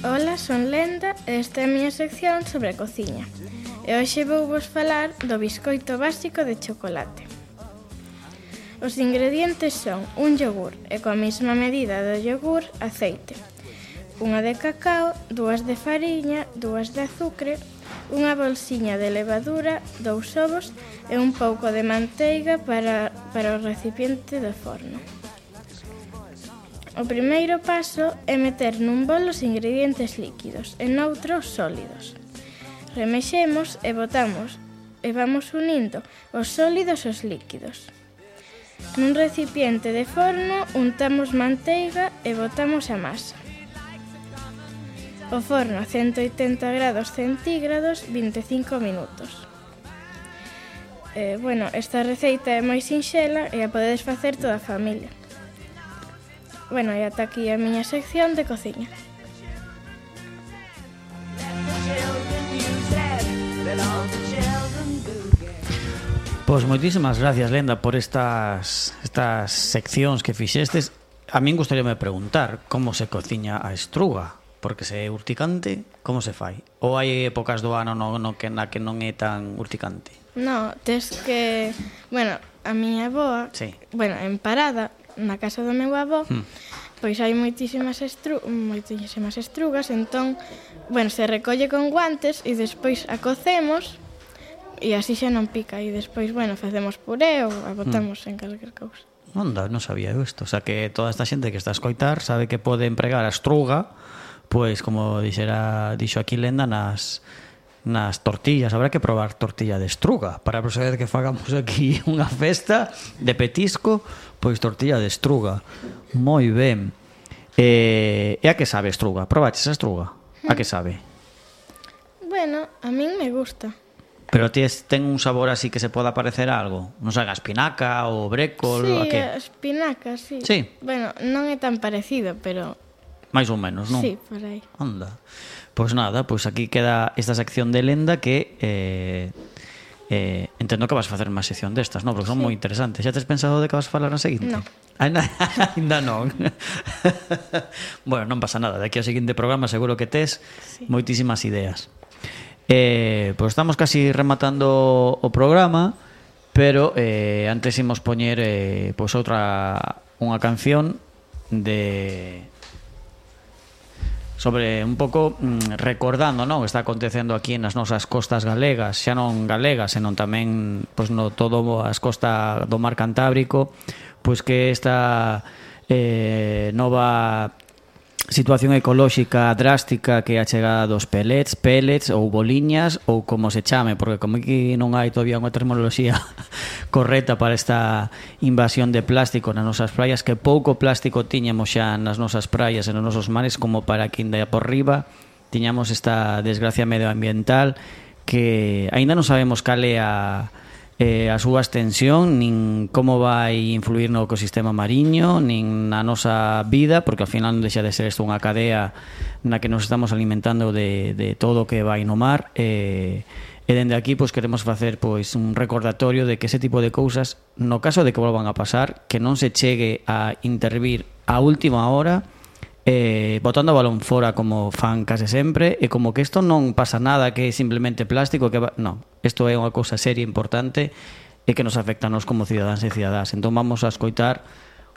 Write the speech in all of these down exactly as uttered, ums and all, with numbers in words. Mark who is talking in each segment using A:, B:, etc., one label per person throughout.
A: Ola, son Lenda e esta é a miña sección sobre a cociña. E hoxe vou vos falar do biscoito básico de chocolate. Os ingredientes son un yogur e coa mesma medida do yogur, aceite, unha de cacao, dúas de fariña, dúas de azucre, unha bolsiña de levadura, dous ovos e un pouco de manteiga para, para o recipiente do forno. O primeiro paso é meter nun bol os ingredientes líquidos e noutros sólidos. Remexemos e botamos e vamos unindo os sólidos aos líquidos. Nun recipiente de forno untamos manteiga e botamos a masa. O forno a ciento oitenta grados centígrados, vinte e cinco minutos. Eh, bueno, esta receita é moi sinxela e a podedes facer toda a familia. Bueno, e ata aquí a miña sección de cociña.
B: Pois moitísimas gracias, Lenda, por estas estas seccións que fixestes. A min gustaríame preguntar como se cociña a estruga, porque se é urticante, como se fai? Ou hai épocas do ano no, no que, na que non é tan urticante?
A: No, tes que... Bueno, a miña avoa,
B: sí.
A: Bueno, en Parada, na casa do meu avó, hmm. pois hai moitísimas, estru... moitísimas estrugas, entón, bueno, se recolle con guantes e despois a cocemos e así xa non pica e despois, bueno, facemos puré ou a botamos hmm. en calquer cousa.
B: Onda, non sabía eu isto, o sea que toda esta xente que está a escoitar sabe que pode empregar a estruga, pois como dixera, dixo aquí Lenda, nas nas tortillas. Habrá que probar tortilla de estruga para a próxima vez que fagamos aquí unha festa de petisco, pois tortilla de estruga. Moi ben. E, e a que sabe estruga? Probaches a estruga? A que sabe?
A: Bueno, a min me gusta.
B: Pero tes, ten un sabor así que se poda parecer a algo? Non sei, a espinaca ou brécol?
A: Sí,
B: a que?
A: a espinaca, sí.
B: Sí?
A: Bueno, non é tan parecido, pero...
B: Mais ou menos, non?
A: Sí, por aí.
B: Anda. Pois nada, pois aquí queda esta sección de Lenda que eh, eh, entendo que vas facer máis sección destas, non? Porque son sí. moi interesantes. Xa tes pensado de que vas a falar na seguinte?
A: Non.
B: Ainda non. Bueno, non pasa nada. De aquí ao seguinte programa seguro que tes sí. moitísimas ideas. Eh, pois estamos casi rematando o programa, pero eh, antes imos poñer eh, pois outra unha canción de... sobre un pouco mm, recordando, non, que está acontecendo aquí nas nosas costas galegas, xa non galegas, senón tamén pois no todo as costas do mar Cantábrico, pois que esta eh, nova situación ecolóxica drástica que é a chegada dos pellets, pellets ou boliñas ou como se chame, porque como aquí non hai todavía unha terminoloxía correcta para esta invasión de plástico nas nosas praias, que pouco plástico tiñamos xa nas nosas praias e nos nosos mares como para que ainda por riba tiñamos esta desgracia medioambiental que aínda non sabemos cal é a Eh, a súa extensión, nin como vai influir no ecosistema mariño, nin na nosa vida, porque ao final non deixa de ser isto unha cadea na que nos estamos alimentando de, de todo o que vai no mar. E, e dende aquí pois queremos facer pois un recordatorio de que ese tipo de cousas, no caso de que volvan a pasar, que non se chegue a intervir a última hora, eh, botando o balón fora como fan case sempre, e como que isto non pasa nada, que é simplemente plástico, que va... non, isto é unha cousa seria importante e que nos afecta a nos como cidadáns e cidadáns. Entón vamos a escoitar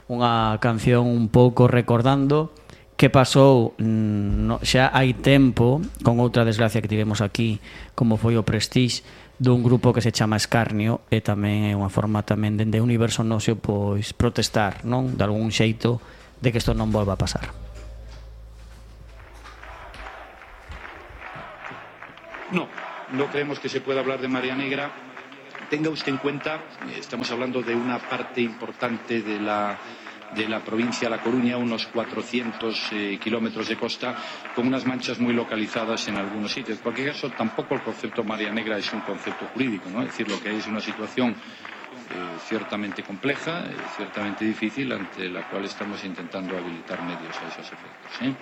B: unha canción un pouco recordando que pasou no, xa hai tempo con outra desgracia que tivemos aquí, como foi o Prestige, dun grupo que se chama Escarnio, e tamén é unha forma tamén dende o universo noso pois protestar, non, de algún xeito de que isto non volva a pasar.
C: No, no creemos que se pueda hablar de María Negra. Tenga usted en cuenta, estamos hablando de una parte importante de la, de la provincia de La Coruña, unos cuatrocientos eh, kilómetros de costa, con unas manchas muy localizadas en algunos sitios. En cualquier caso, tampoco el concepto María Negra es un concepto jurídico, ¿no? Es decir, lo que es una situación eh, ciertamente compleja, eh, ciertamente difícil, ante la cual estamos intentando habilitar medios a esos efectos, ¿eh?